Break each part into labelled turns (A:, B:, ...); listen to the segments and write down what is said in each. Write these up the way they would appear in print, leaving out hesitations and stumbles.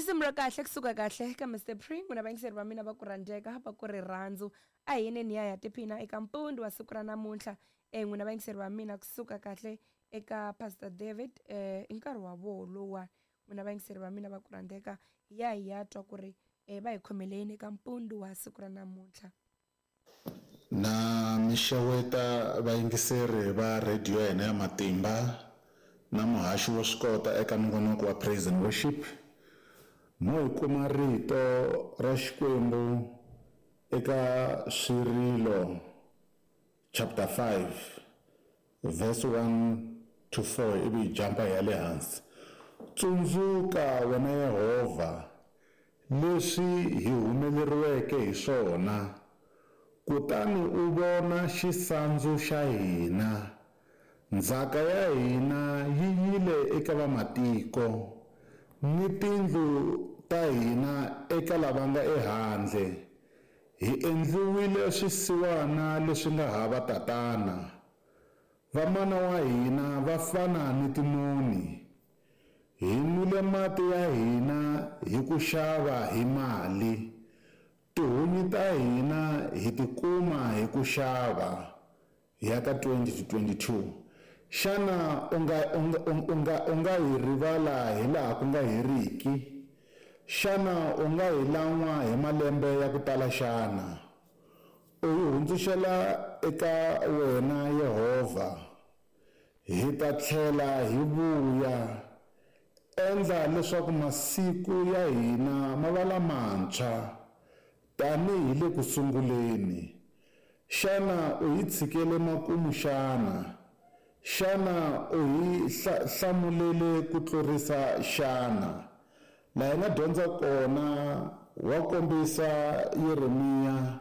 A: Risimu ra kahle kusuka kahle ka Mr Pre, n'wina vayingiseri va mina va ku rhandzeka va ku rirhandzu. A hi yeneni hi ya hi ya tiphina eka mpundzu wa siku ra namuntlha. N'wina vayingiseri va mina kusuka kahle eka Pastor David, i nkarhi wa voho lowuwani. N'wina vayingiseri va mina va ku rhandzeka, hi ya hi ya twa ku ri va hi khomele yini eka mpundzu wa siku ra namuntlha.
B: Na mi xeweta vayingiseri va radio ya hina ya Matimba na muhaxi wo swi kota eka nongonoko wa Praise and Worship. Mo hi kuma rito ra Xikwembu eka Swirilo chapter 5 verse 1 to 4 ivi hi jumpa hi ya le hansi. Tsundzuka wena Yehovha leswi hi humeleriweke hi swona, kutani u vona xisandzu xa hina. Ndzhaka ya hina yi yile eka vamatiko, ni tindlu ta hina eka lava nga ehandle. Hi endliwile swisiwana leswi nga hava tatana. Vamana wa hina va fana ni tinoni. Hi nwile mati ya hina hi ku xava hi mali. Tihunyi ta hina hi ti kuma hi ku xava. Hi ya ka 20 to 22. Xana u nga hi rivala hi laha ku nga heriki? Xana u nga hi lan'wa hi malembe ya ku tala xana? U hi hundzuxela eka wena Yehovha. Hi ta tlhela hi vuya. Endla leswaku masiku ya hina ma va lamantshwa tanihi le ku sunguleni. Xana u hi tshikele makumu xana? Xana u hi hlamulele ku tlurisa xana? Laha hi nga dyondza kona wa kombisa Yeremiya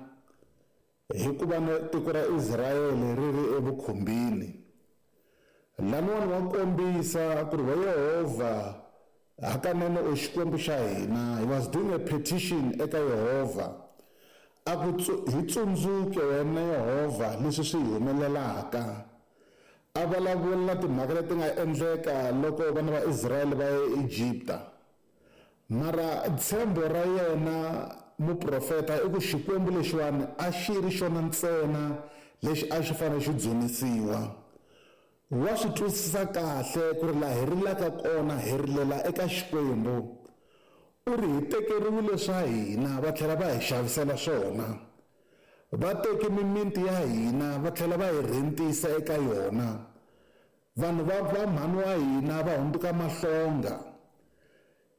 B: hikuva tiko ra Israyele ri ri evukhumbini. Laniwani wa kombisa ku ri wa Yehovha hakanene u Xikwembu xa hina. He was doing a petition eka Yehovha. A ku hi tsundzuke wena Yehovha leswi swi hi humelelaka. A vulavula timhaka leti nga endleka loko vana va Israyele va ya eEgipta. Mara ntshembo ra yena muprofeta i ku Xikwembu lexiwani a xi ri xona ntsena lexi a xi fanele xi dzunisiwa. Wa swi twisisa kahle ku ri laha hi rilaka kona hi rilela eka Xikwembu. U ri hi tekeriwile swa hina va tlhela va hi xavisela swona. Va teke mimiti ya hina va tlhela va hi rhentisa eka yona. Vanhu va mhani wa hina va hundzuka mahlonga.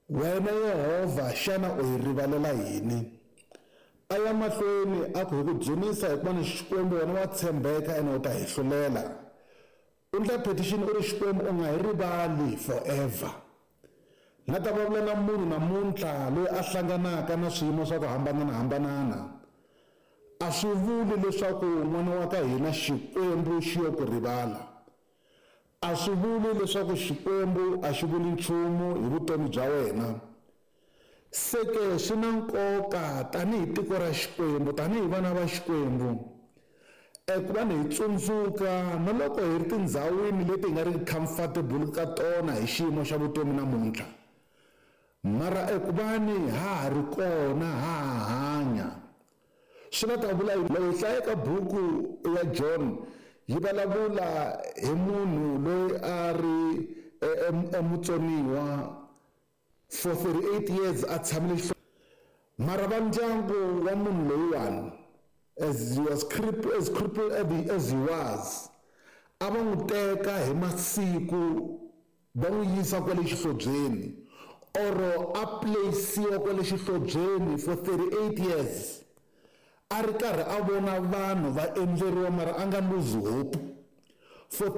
B: Wena Yehovha, xana u hi rivalela yini? A ya mahlweni a ku hi ku dzunisa hikuva ni Xikwembu wena wa tshembeka ene u ta hi hlulela. U ndla petition u ri Xikwembu u nga hi rivali forever. Na ta vulavula na munhu namuntlha loyi a hlanganaka na swiyimo swa ku hambananahambanana. A swi vuli leswaku n'wana wa ka hina Xikwembu xi yo ku rivala. A swi vuli leswaku Xikwembu a xi vuli nchumu hi vutomi bya wena. Se ke swi na nkoka tanihi tiko ra Xikwembu, tanihi vana va Xikwembu, ku va ni hi tsundzuka na loko hi ri tindhawini leti hi nga ri comfortable ka tona hi xiyimo xa vutomi namuntlha. Mara eku va ni ha ha ri kona, ha ha hanya. Swi nga ta vula loko hi hlaya eka buku ya John, yi vulavula hi munhu loyi a ri emutsoniwa for 38 years a tshamile mara va ndyangu wa munhu loyiwani, as he was crippled, as crippled as he was, a va n'wi teka hi masiku va n'wi yisa kwale xihlobyeni, or a place-iwa kwale xihlobyeni for 38 years. A ri karhi a vona vanhu va endleriwa mara a nga lose hope. For